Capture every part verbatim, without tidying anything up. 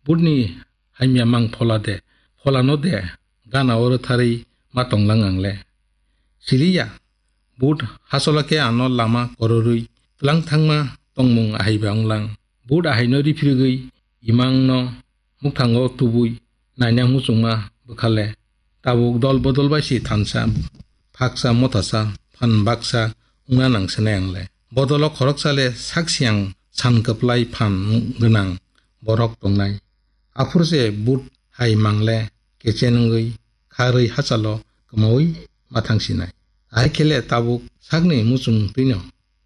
Butni hamya mang phola de, pholano de, gana oro tharwi ma tonglang ang le. Siliya, but hasola khe ano lama kororwi tlang thangma tongmung ahai ba wnglang. But ahaino riphirigwi imangno mukthango tubui naina muchungma bwkhale. Tabuk dol bodol bai si thansa, phaksa, mothasa, phan baksa wngna nang sinai ang le. Bodolo khoroksa le sak siyang san kwplai phan gwnang borok tongnai. Aphuru se but hai mang le kechen wngwi kharwi hachalo kwmaui ma thang sinai. Ahai khe le tabuk sakni muchung twino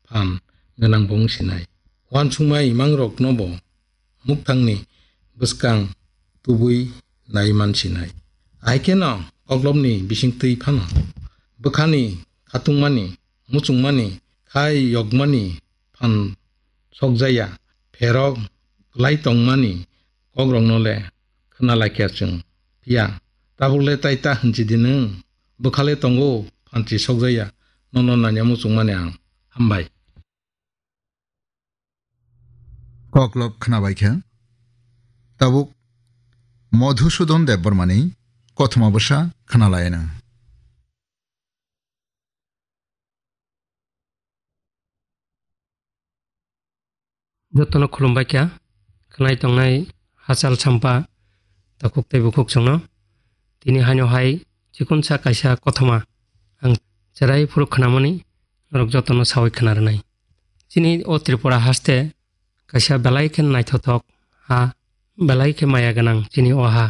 phan gwnang bo wng sinai. Uansukma imangrokno bo mukthangni bwskang tubui nai man sinai. Ahai kheno koklopni bisingtwi phano bwkhani khatungmani, muchungmani, khai yokmani phan sokjaya, pherok kwlai tongmani kokrokno le khna lai kha chwng. Phiya tabuk le tai ta hwnchi di nwng, bwkha le tongo phanchi sokjaya, nono nanya muchungmani ang. Hambai. Koklop khnabai kha. Tabuk Madhusudan Debbarmani kothoma bwsa khnalaino. Jotono khulumbai kha, khnai tongnai hachal champa, takhuk tei bukhuk chwngno. Tini haino hai chikonsa kaisa kothoma ang cherai phuru khnamani norok jotono sawi khna rwnai. Chini o Tripura haste kaisa belai khe naithothok ha, belai khe maya gwnang chini o ha.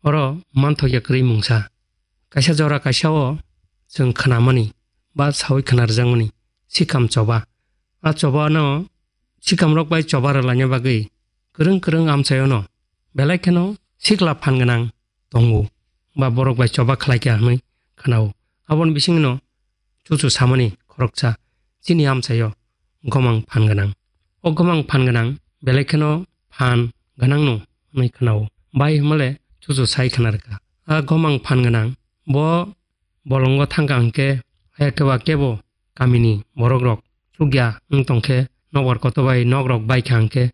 Oro manthokya kwrwi mungsa. Kaisa jora kaisa o chwng khnamani ba sawi khna rwjakmani sikam choba. A choba no sikamrok bai choba rwlaina bagwi kwrwng kwrwng amchaio no belai kheno sikla phan gwnang tongo ba borok bai choba khlai kha hwnwi khnao. Aboni bisingno chuchu samani khoroksa chini amchaio gomang phan gwnang. O gomang phan gwnang belai kheno phan gwnangno hwnwi khnao. Bai hwnmale chuchu sai khna rwkha. A gomang phan gwnang bo bolongo thangkha hwnkhe, haya khe ba kebo kamini borokrok chukya wng tongkhe, nokbar kotor bai nokrok baikha hwnkhe,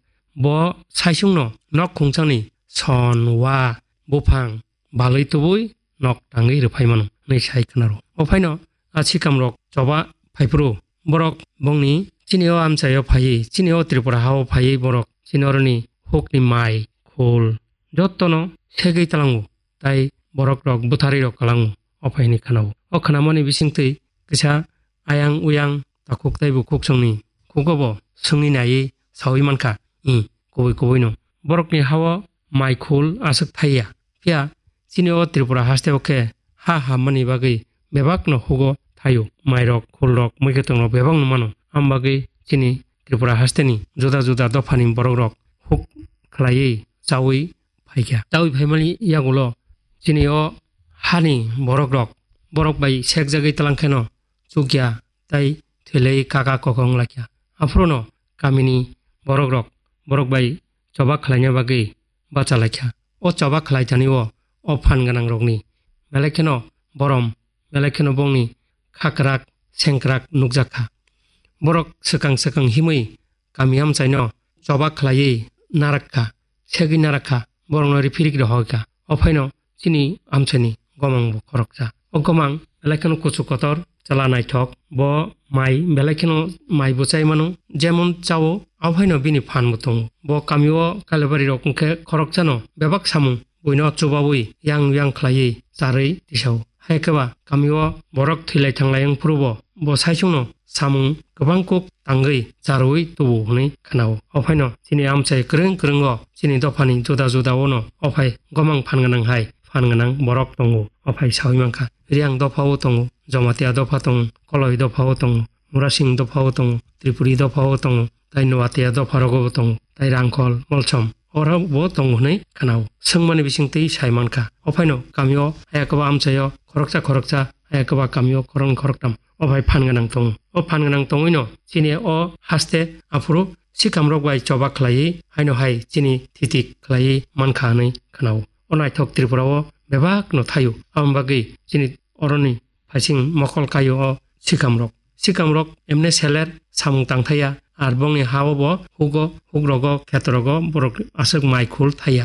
bo saisungno nok khungchangni son, wa, buphang balwi tubui nok tangwi rwphai mano hwnwi sai khnaro. O phaino a sikamrok choba phaiphuru borok bongni chini o amchaio phaiwi, chini o Tripura hao phaiwi borok chini oroni hukni mai, khul jotono segwi tlango. Tai borokrok bwtharwi rok kwlango, o phai hwnwi khnao. O khnamani bisingtwi kisa ayang uyang takhuk tei bukhuk chwngni khugo bo swngwi naiwi sawi mankha, i, kubui kubuino. Borokni hao mai khul aswk thaiya. Phiya chini o Tripura hasteo khe ha hammani bagwi bebakno hugo thaio. Mairok, khulrok, muikwthwngrok bebakno mano. Am bagwi chini Tripura hasteni juda juda dophani borokrok huk khlaiwi chaui phaikha. Chaui phaimani yagulo chini o hani borokrok, borok bai sekjagwi twlang kheno chukya tei thwilwi kaka kokong lakya. Aphuruno kamini borokrok borok bai choba khlaina bagwi bacha laikha. O choba khlaitani o, o phan gwnangrokni belai kheno borom, belai kheno bongni khakrak sengkrak nukjakha. Borok swkang swkang himwi kami amchaino choba khlaiwi narakha, segwi narakha, borokno riphirik rohorkha. O phaino chini amchaini gomangbo khoroksa. O gomang belai kheno kuchuk kotor, chwla naithok, bo mai belai kheno mai bo chai mano, jemon chao, abo phaino bini phan bo tongo. Bo kamio Kailabarirok wngkhe khoroksano bebak samung buino chubaui yang yang khlaiwi charwi tisao. Hai khe ba kamio borok thwilai thanglai wng phuru bo, bo saichungno samung kwbang kuk tangwi charwi tubu hwnwi khnao. O phaino chini amchai kwrwng kwrwngo chini dophani juda juda o no o phai gomang phan gwnang hai phan gwnang borok tongo. O phai saui mankha, Riang dopha o tongo, Jamatia dopha tongo, Koloi dopha o tongo, Murasing dopha o tongo, Tripuri dopha o tongo, tai Nuatia dopha rogo bo tongo, tai Rangkhol, Molsom oro bo tongo hwnwi khnao. Swngmani bisingtwi sai mankha. O phaino kamio haya kwba amchaio khoroksa khoroksa, haya kwba kamio khoroknwi khoroktham o phai phan gwnang tongo. O phan gwnang tongwino chini o haste aphuru sikamrok bai choba khlaiwi haino hai chini thitik khlaiwi mankha hwnwi khnao. O naithok Tripura o bebak no thaio. Aboni bagwi chini oroni phaising mokol kaio o sikamrok. Sikamrok emne seler samung tang thaya, ar bongni ha o bo hugo, hugrogo, khetrogo borok aswk mai khul thaya.